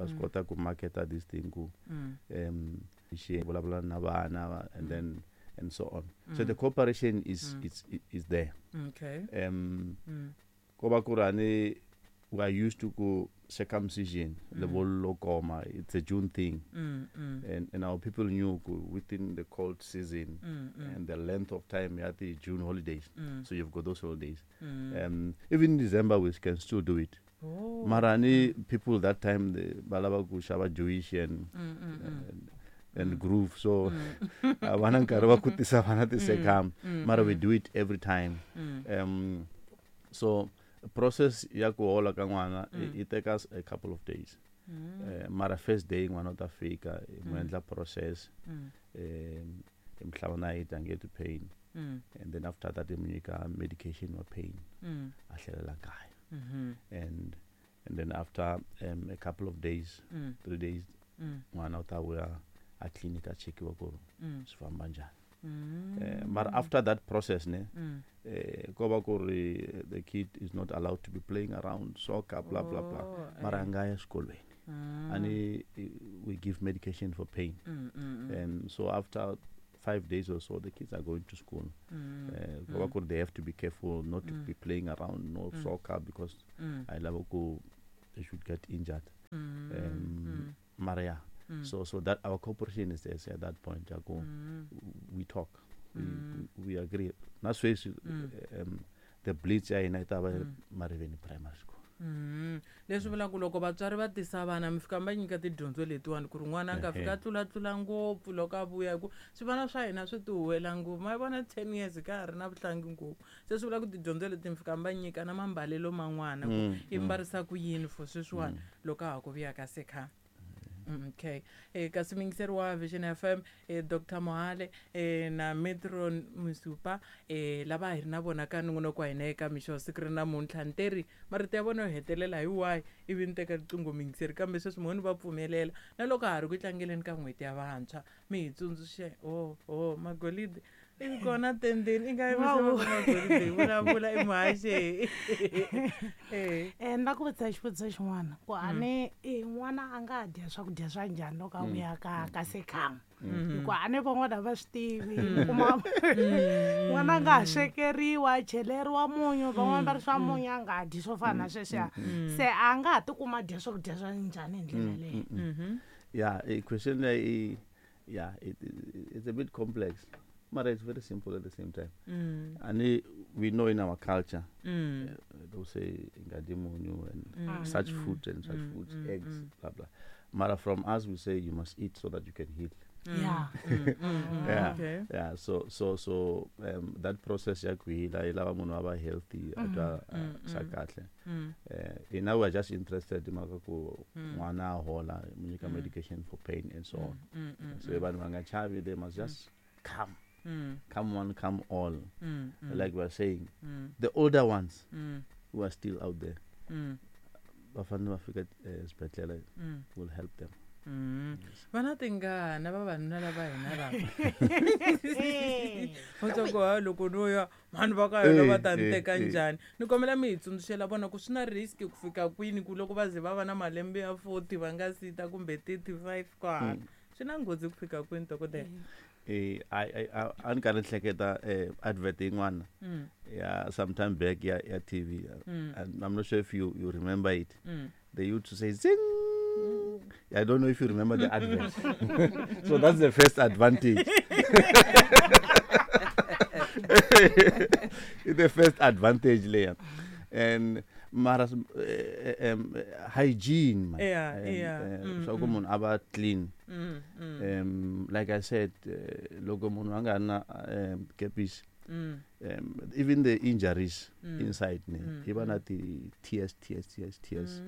Va swi kota ku marketa this thing ku xi vulavula na vana and then and so on. So the cooperation is is there. Okay. Ko va ku ri ani we are used to ku circumcision, lebollo koma, it's a June thing. And our people knew ku within the cold season and the length of time you had the June holidays. So you've got those holidays. Even in December we can still do it. Oh. Marani people that time the balava ku xava Jewish and and groove, so a va na nkarhi wa ku tisa vana ti-circum, mara we do it every time. So process ya ku hola ka n'wana i take us a couple of days. Mara first day n'wana u ta fika hi mu endla process, hi mu hlava nayiti a nge twi pain, and then after that hi mu nyika medication wa pain, a tlhelela kaya. And then after a couple of days, 3 days, n'wana u ta vuya a clinic a chekiwa ku swi famba njhani. Mara after that process ne, ko va ku ri the kid is not allowed to be playing around soccer, blah blah blah. Mara a nga ya exikolweni. And we give medication for pain. So after 5 days or so, the kids are going to school. Ko va ku ri they have to be careful not to be playing around, no soccer, because I love ku they should get injured. Mara ya. So that our cooperation is there at that point. We talk, we agree. Na sweswi, the blitz ya hina yi ta va Mariveni Primary School. Leswi vulaka ku loko vatswari va tisa vana mi fika mi va nyika tidyondzo letiwani ku ri n'wana a nga fika a tlulatlula ngopfu loko a vuya, hi ku swivana swa hina swi ti huwela ngopfu. Ma vona 10 years ka ha ri na vuhlangi ngopfu. Se swi vula ku tidyondzo leti mi fika mi va nyika na mambalelo man'wana ku i mbarisa ku yini for sweswiwani loko a ha ku vuya ka sekha. Okay. Kasi muyingiseri wa Vision FM, Doctor Mohale, na Matron Masupa, lava hi ri na vona ka nongonoko wa hina eka mixo siku ri namuntlha. Nteri marito ya vona yo hetelela hi wahi ivi ni teka riqingho muyingiseri, kambe sweswi mhoni va pfumelela na loko ha ri ku tlangeleni ka n'hweti ya vantshwa mi hi tsundzuxe. Oh, oh, magolide i kona tendeni i nga yi Wow. magolide hi vulavula i muhaxe. Ni la ku vutisa xivutiso xin'wana ku a ni n'wana a nga dya swakudya swa njhani loko a vuya ka sekhama? Hikuva a ni van'wana va swi tivi, kuma n'wana a nga ha swekeriwa, a cheleriwa munyu, van'wana va ri swa munyu a nga dyi swo fana na sweswiya. Se a nga ha tikuma a dya swakudya swa njhani hi ndlela leyi? Yeah, a question leyi, yeah, it's a bit complex, but it's very simple at the same time. And we know in our culture, they'll say ngadi munyu and such food and such foods, eggs, blah blah. Mara from us we say you must eat so that you can heal. Yeah. Yeah. So that process ya ku heal, i lava munhu a va healthy, a twa, swa kahle. Now we are just interested in mhaka ku n'wana a hola, mu nyika medication for pain and so on. So vanhu va nga chavi, they must just come. Come one, come all. Like we are saying, the older ones who are still out there, va fanele va fika eswibedhlele, will help them. Va na tingana vavanuna lava hina lava. Va twa ku, ha, loko no ya vanhu va ka hina va ta ni teka njhani? Ni kombela mi hi tsundzuxela vona ku swi na risk ku fika kwini ku loko va ze va va na malembe ya 40 va nga si ta kumbe 35 kwala. Swi na nghozi ku fika kwini, dokodela? A ni karhi ni hleketa advert yin'wana ya sometime back ya TV. And I'm not sure if you remember it. They used to say zing. I don't know if you remember the advert. So that's the first advantage. The first advantage there. And mara, hygiene, man. So munhu a va clean. Like I said, loko munhu a nga na kepisi, even the injuries inside, ne, even at the tears, tears, tears, tears.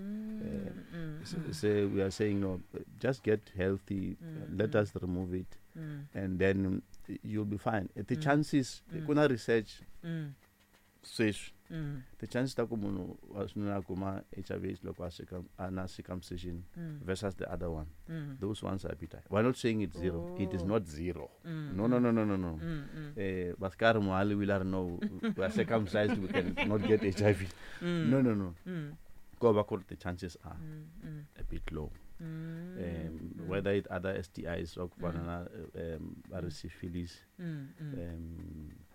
So we are saying, no, just get healthy, let us remove it, and then you'll be fine. The chances, kuna research says, the chances ta ku munhu wa xinuna a kuma HIV AIDS loko a a na circumcision versus the other one. Those ones are bitter. We're not saying it's zero. It is not zero. No, no, no, no, no, no. Bhaskar Mohali will no, we are circumcised, we can not get HIV. No, no, no. Ko va ku ri ti-chances are a bit low. Whether it other STIs swa ku fana na va ri syphilis,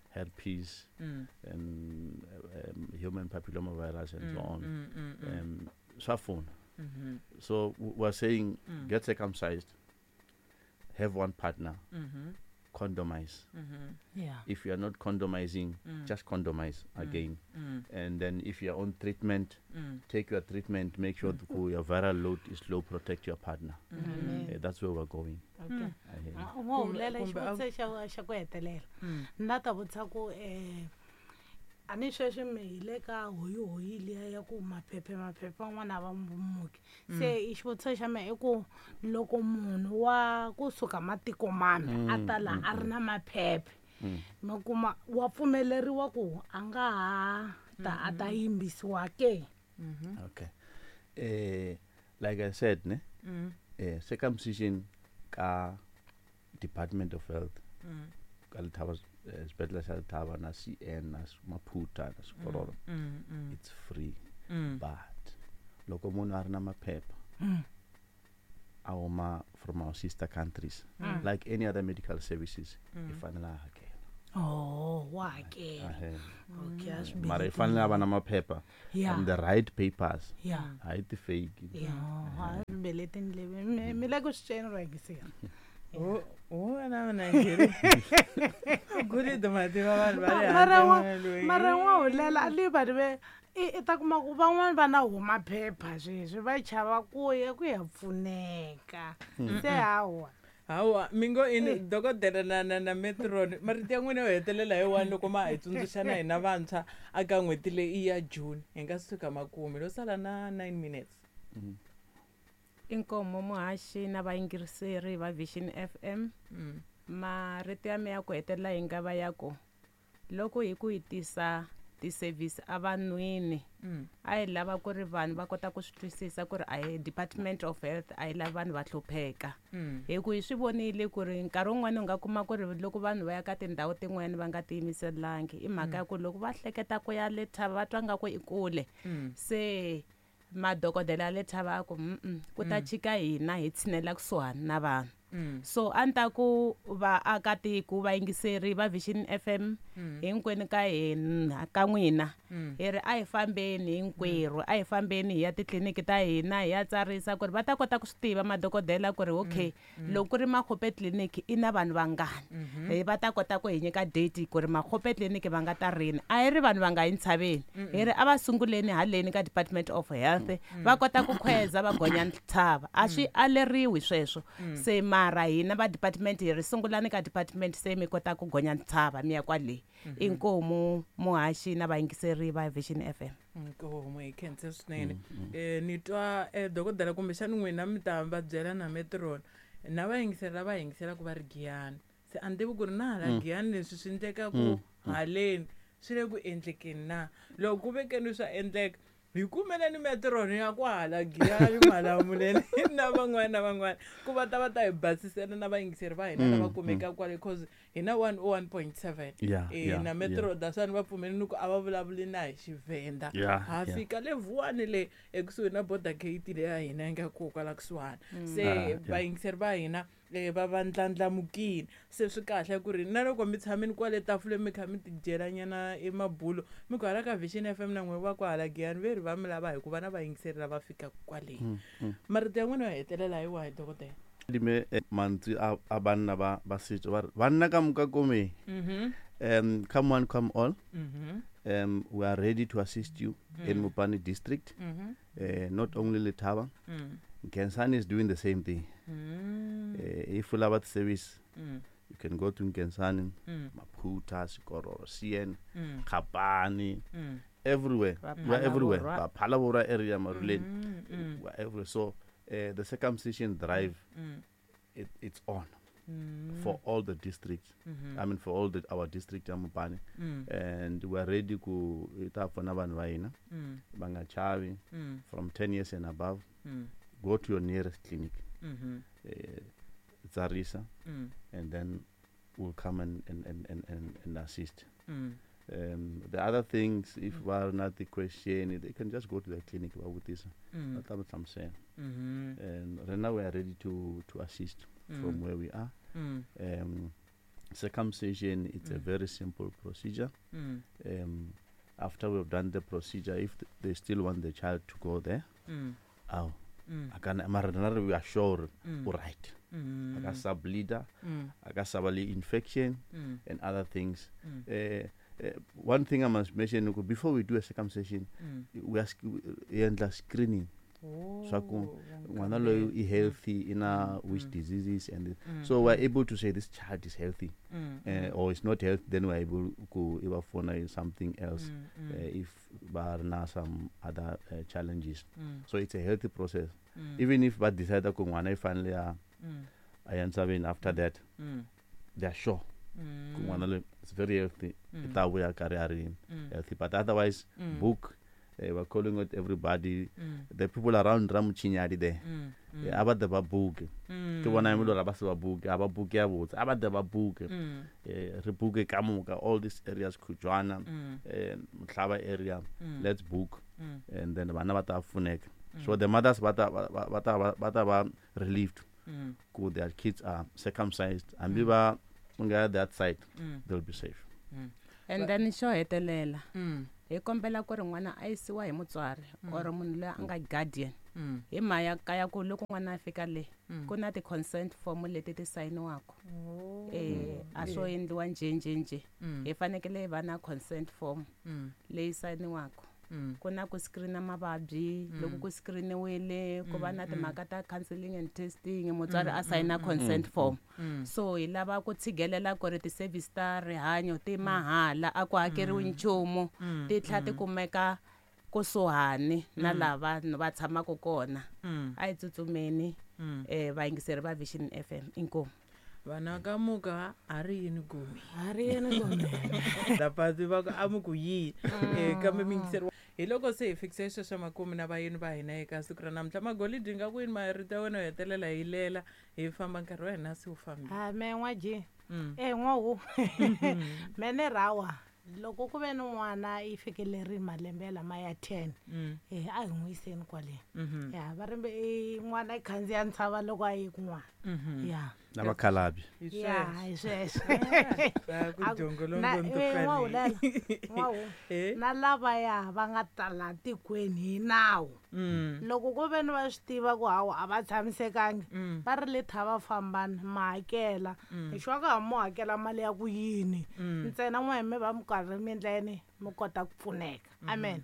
herpes, human papilloma virus and so on, swa pfuna. So we're saying get circumcised, have one partner, condomize. If you are not condomizing, just condomize again. And then if you are on treatment, take your treatment, make sure your viral load is low, protect your partner. That's where we're going. Okay. U ngo hulela xivutiso xa ku hetelela. Ni la ta vutisa ku a ni sweswi mi hi le ka hoyihoyi liya ya ku maphephe maphephe van'wana a va muki. Se i xivutiso xa mehe i ku loko munhu wa kusuka matiko mambe a ta la a ri na maphephe, mi kuma wa pfumeleriwa ku a nga ha ta a ta yimbisiwa ke? Okay. Like I said, ne? Circumcision ka Department of Health, ka Lethaba, sepetlele sa Lethaba na CN na Maphutha na Sekororo, it's free. But loko munhu a ri na maphepha a huma from our sister countries, like any other medical services, i fanele a hakela. Oh, wa hakela. Okay, a swi Mara i fanele a va na maphepha and the right papers, hayi ti-fake. Yeah, a swi beleti ndleve. Mi le ku swi tweni ro yingisela. Wena Nigeria. Guri mativa vanhu va le Mara handle. Mara n'wa hulela a ni vanhu ve i ta kuma ku van'wani va na huma phepha sweswi va chava ku ya ku ya pfuneka. Se hawa. Hawa, mi ngo ini dokodela na metron, marito ya n'wina yo hetelela hi wani loko ma hi tsundzuxa na hina vantshwa aka n'hweti leyi ya June hi nga suka makumu lo sala na 9 minutes. Inkomo muhaxi na vayingiseri va Vision FM. Marito ya mehe ya ku hetelela hi nga va ya ku loko hi ku hi tisa ti-service evanhwini, a hi lava ku ri vanhu va kota ku swi twisisa ku ri a hi Department of Health a yi lavi vanhu va hlupheka. Hi ku hi swi vonile ku ri nkarhi wun'wani u nga kuma ku ri loko vanhu va ya ka tindhawu tin'wani va nga tiyimiselangi, i mhaka ya ku loko va hleketa ku ya le Thaba va twa nga ku i kule. Se madokodela ya le Thaba a ku, ku ta chika hina hi tshinela kusuhani na vanhu. So a ni ta ku vaakatiko vayingiseri va Vision FM hinkwenu ka hina ka n'wina, hi ri a hi fambeni hinkwerhu, a hi fambeni hi ya titliliniki ta hina hi ya tsarisa ku ri va ta kota ku swi tiva madokodela ku ri okay, loko ku ri Makgope tliliniki i na vanhu vangani, hi va ta kota ku hi nyika date ku ri Makgope tliliniki va nga ta rini. A hi ri vanhu va nga yi ntshaveni, hi ri a va sunguleni haleni ka Department of Health, va kota ku khweza va gonya ntshava, a swi aleriwi sweswo. Se mara hina va department hi ri sungulani ka department se mi kota ku gonya ntshava mi ya kwale. Inkomu muhaxi na vayingiseri va Vision FM. Inkomu hi khensa swinene. Ni twa dokodela kumbexani n'wina mi ta va byela na metron na vayingiseri lava yingiselaka va ri Giyani. Se a ni tivi ku ri na hala Giyani leswi swi endleka ku haleni swi le ku endlekeni na. Loko ku vekeni swa endleka hi kumeleni metron ya kwahala Giyani Malamulele na van'wana na van'wana ku va ta va ta hi basisela na vayingiseri va hina lava kumekaka kwale, cause hi na 101.7. Na metro dasani va pfumelini ku a va vulavuli na hi Xivenda. Ha fika le Vuwani le ekusuhi na border gate leya hina yi nga kona kwala kusuhani. Se vayingiseri va hina va va ndlandlamukile. Se swi kahle ku ri na loko mi tshamile kwale tafuleni mi kha mi tidyelanyana emabulo mi ku hala ka Vision FM na n'we va kwahala Giyani ve ri va mi lava hikuva na vayingiseri lava fikaka kwale. Marito ya n'wina yo hetelela hi wahi dokodela? Dime mantswe a banna ba setso ba re banna ka moka komeng. Come one, come all. We are ready to assist you in Mopani district. Not only Letaba. Nkhensani is doing the same thing. If you love that service, you can go to Nkhensani, Maphutha, Sekororo, CN, Kgapane, everywhere. We are everywhere. Phalaborwa area, Maruleng. We are everywhere. So the circumcision drive, it's on for all the districts. I mean, for all the our district ya Mopani. And we are ready ku ta pfuna vanhu va hina. Va nga chavi. From 10 years and above, go to your nearest clinic. Tsarisa, and then we'll come and assist. The other things, if va ri na ti-question, they can just go to the clinic va vutisa, va ta va hlamusela. And right now we are ready to assist from where we are. Circumcision, it's a very simple procedure. After we've done the procedure, if they still want the child to go there, aw, a kana mara rena we are sure o right, a ka sa bleeder, a ka sa ba le infection and other things. One thing I must mention, before we do a circumcision, we are hi endla screening swa ku n'wana loyi i healthy ina which diseases, and so we're able to say this child is healthy or is not healthy. Then we're able ku i va pfuna in something else if va ri na some other challenges. So it's a healthy process. Even if va decide ku n'wana i fanele a ya ntshaveni, after that they are sure ku n'wana loyi is very healthy, i ta vuya karhi a ri healthy. But otherwise, book. We're calling out everybody, the people around Ramuchinyadi there, a va te va buke. Ke bona e le gore ba se ba buke, a ba buke ya botse, a ba te ba buke. Re buke ka moka, all these areas, Khujwana, Mohlaba area, let's book, and then bana ba ta pfuneka. So the mothers ba ta ba relieved ku their kids are circumcised, hambi va nga that side, they'll be safe. And then xo hetelela, hi kombela ku ri n'wana a yisiwa hi mutswari or munhu loyi a nga guardian, hi mhaka kaya ku loko n'wana a fika le, ku na ti-consent form leti ti sayiniwaka. A swo endliwa njhe njhe njhe, hi fanekele hi va na consent form leyi sayiniwaka. Ku na ku screena mavabyi, loko ku screeniwile, ku va na timhaka ta counseling and testing, mutswari a sayina consent form. So hi lava ku tshigelela ku ri ti-service ta rihanyo ti mahala, a ku hakeriwi nchumu, ti tlhela ti kumeka kusuhani na laha vanhu va tshamaka kona. A hi tsutsumeni, vayingiseri va Vision FM, inkomu. Vana ka muka a ri yini gumi? A ri yini gumi? Lapasi va ku a mu ku yi. Kambe miyingiseri hi loko se hi fikise sweswo makumu na vayeni va hina eka siku ra namuntlha. Magolidi, nga ku yini marito ya wena yo hetelela hi lela hi famba, nkarhi wa hina se wu fambile? A me n'wa ji e n'wawu mene rawa, loko ku ve ni n'wana i fikelerile malembe lama ya 10, a hi n'wi yiseni kwale. Ya va ri n'wana i khandziya ntshava loko a yi kun'wana. Ya. Na vakhalabye. Ya, hi sweswo. Va ku jongolongo. N'wawu na lavaya va nga tala tikweni hi nawu, loko ku ve ni va swi tiva ku hawa a va tshamisekangi, va ri le tha va fambani ma hakela hi xwa ka ha mo hakela mali ya ku yini, ntsena n'we mi va mi karhi mi endla yini, mi kota ku pfuneka. Amen.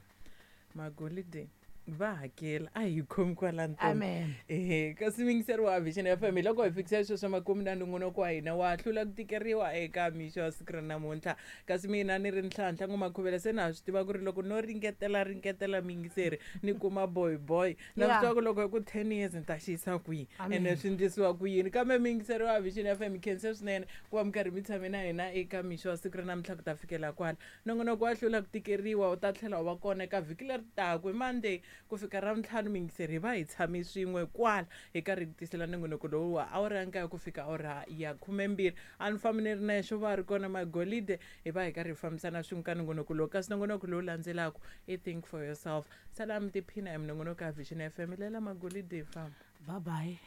Magolide va hakela, a hi khomi kwala. Amen. Ehe, kasi miyingiseri wa Vision FM, hi loko hi fikisa sweswo makumu na nongonoko wa hina wa hlula ku tikeriwa eka mixo wa siku ra namuntlha. Kasi mina ni ri Ntlhantlha Ngoma-Khuvela, se na ha swi tiva ku ri loko no ringetela ringetela miyingiseri ni kuma boy boy na swi tiva ku loko hi ku 10 years ni ta xi yisa kwihi, ene swi ndlisiwa ku yini. Kambe miyingiseri wa Vision FM, khense swinene ku va mi karhi mi tshame na hina eka mixo wa siku ra namuntlha ku ta fikela kwala. Nongonoko wa hlula ku tikeriwa wu ta tlhela wu va kona eka vhiki leri taka hi Monday ku fika Ravuntlhanu. Miyingiseri, hi va hi tshame swin'we kwala hi karhi hi ku tisela nongonoko lowu wa awara ya nkaye ku fika awara ya 12. A ni fambi ni ri nexe, va ri kona Magolide, hi va hi karhi hi fambisana swin'we ka nongonoko lowu. Kasi nongonoko lowu landzelaka i Think for Yourself. Sala mi tiphina hi minongonoko ya Vision FM. Lela Magolide, hi famba. Bye bye.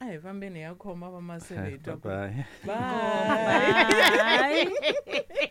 A hi fambeni hi ya khoma va maseve hi twa ku Bye. Bye. Bye.